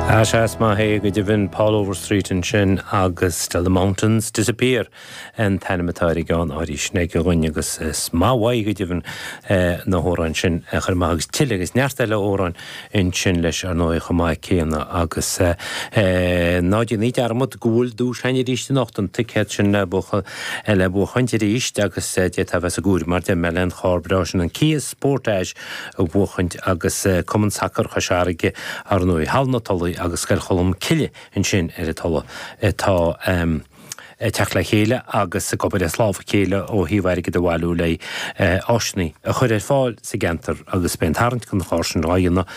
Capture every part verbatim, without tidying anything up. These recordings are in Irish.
Sea, is maith é go deimhin. Paul Overstreet ansin agus Till the Mountains Disappear an t-ainm atá ar an gceann arís ag a dhuine agus is maith uaidh go deimhin na hamhráin sin a chur amach agus tuilleadh agus neart eile amhrán ansin leis ar ndóigh chomh maith céanna agus ná déanaí dearmad go bhfuil duais againn arís anocht, an ticéad sin le le buachaint arís agus d'fhéadfá a bheith sa gcomhaireamh mar deir mé le an charr breá sin, an Kia Sportage a bhuachaint agus Cumann Sacair Chois Fharraige ar ndóigh, Halla na Tulaí agus Scoil Cholm Cille ansin ar an Tulaigh atá ag teacht le chéile agus ag obair as lámh a chéile ó thaobh airgead a bhailiú le áiseanna a chur ar fáil sa gceantar agus beidh an tarraingt don charr sin á dhéanamh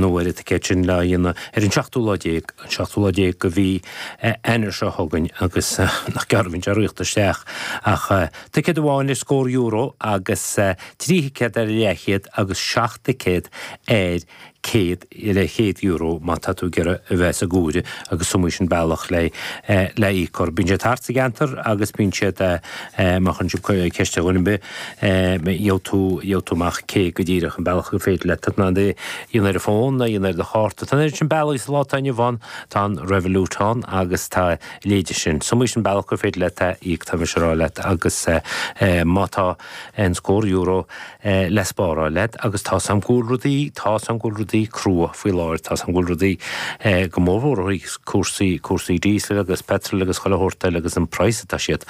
nó ar an ticéad sin le dhéanamh ar an seachtú lá déag an seachtú lá déag de mhí Eanáir seo chugainn agus nach gearr a bhíonn sé ag rith isteach ach ticéad amháin ar scór euro agus trí thicéad ar leathchéad agus seacht dticéad ar céad le céad euro má tá tú ag iarraidh a bheith sa gcomhaireamh agus is iomaí sin bealach le le íoc orthu. Bíonn siad thart sa gceantar agus bíonn siad má chuireann sibh ceist ar dhuine ar bith gheobhaidh tú gheobhaidh tú amach cé go díreach an bealach gur féidir leat tá tú in ann é a dhéanamh ar an bhfón a dhéanamh ar do chárta. Tá an oiread sin bealaí sa lá atá inniu ann, tá an Revolut ann agus tá a leithéid sin. Is iomaí sin bealach gur féidir leat a íoc tá mise ag rá leat agus má tá an scór euro le spáráil leat agus tá 's a'm go bhfuil rudaí, tá 's a'm go bhfuil rudaí crua faoi láthair, tá 's a'm go bhfuil rudaí go mórmhór ó thaobh cúrsaí, cúrsaí diesel agus petrol agus chuile shórt eile agus an praghas atá siad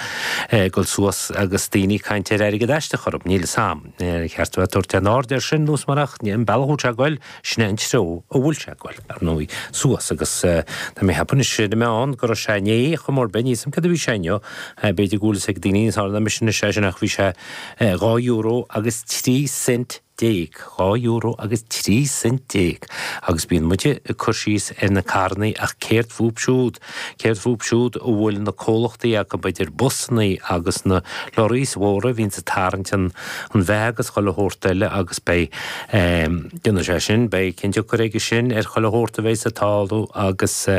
ag dul suas agus daoine ag caint ar airgead aisteach orthu, níl 'fhios a'm, ar cheart a bheith ag tabhairt aon aird air sin nó is mar ach an bealach a bhfuil sé ag goil, sin é an treo a bhfuil sé ag goil, ar ndóigh, suas agus tá mé ag ceapadh anois ar na meáin go raibh sé inné chomh mór bith, níl 'fhios a'm céard a bhí sé inniu, b'fhéidir go bhfuil 'fhios ag daoine níos fearr ná mise anois é sin ach bhí sé dhá euro agus trí cent déag, dhá euro agus trí cent déag, agus bíonn muide ag cur síos ar na carrannaí ach céard fúb siúd, céard fúb siúd a bhfuil na comhlachtaí acu, idir busannaí agus na lorries mhóra a bhíonns ag tarraingt an an bheatha agus chuile shórt eile agus beidh, déanfaidh sé sin, beidh cionn-tionchar aige sin ar chuile shórt a bheidh ag tarlú agus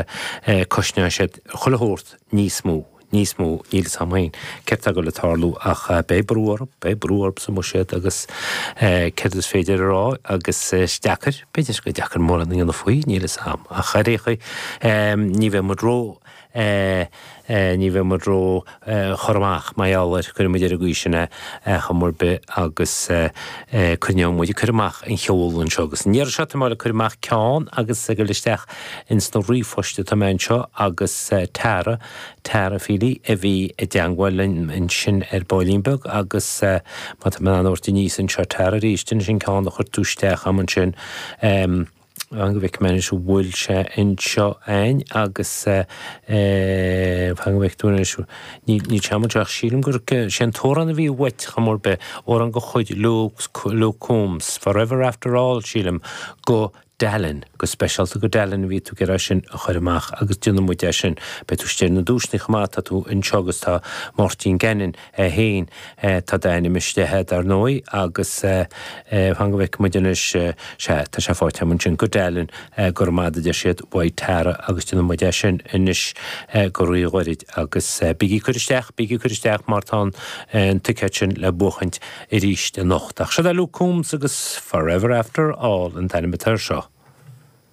cosnóidh siad chuile shórt níos mó. níos mó, níl 'fhios a'm féin céard tá ag dul a tarlú ach beidh brú orthu, beidh brú orthu sa mbuiséad agus céard is féidir a rá agus is deacair, b'fhéidir gur deacair mórán a dhéanamh faoi, níl 'fhios a'm ach ar aon chaoi ní bheidh muid ró ní bheidh muid ró chur amach mar gheall air, cuirfidh muid ar an gcaoi sin é chuma ar bith agus coinneoidh muid ag cur amach an cheol anseo agus an iarraidh seo tá mé ag cur amach ceann agus ag dul isteach ins na ríomhphoist atá mé anseo agus Tara Tara Feely a bhí i dteangmháil linn ansin ar baillín beag agus má tá mé in ann a thabhairt aníos anseo Tara arís, anois an ceann a chuir tú isteach a'm ansin, fan go bhfeicfidh mé anois an bhfuil sé anseo a'inn agus fan go bhfeicfidh tú anois, níl sé a'm anseo ach sílim gur sé an t-amhrán a bhí uait chuma ar bith, amhrán de chuid Luke, Luke Combs, Forever After All sílim, go Dallin, go speisialta go Dallin a bhí tú ag iarraidh sin a chur amach agus déanfaidh muid é sin. Beidh tú istigh ar na duaiseanna chomh maith, tá tú anseo agus tá Máirtín Gannon é féin, tá d'ainm istigh air dar ndóigh agus fan go bhfeicfidh muid anois, sea, tá sé faighte agam ansin, go Dallin, go raibh maith agat a deir siad, uaidh Tara agus déanfaidh muid é sin anois go ríghairid agus bígí ag cur isteach, bígí ag cur isteach mar tá an ticéad sin le buachaint arís anocht. Ach seo é Luke Combs agus Forever After All an t-ainm atá air seo.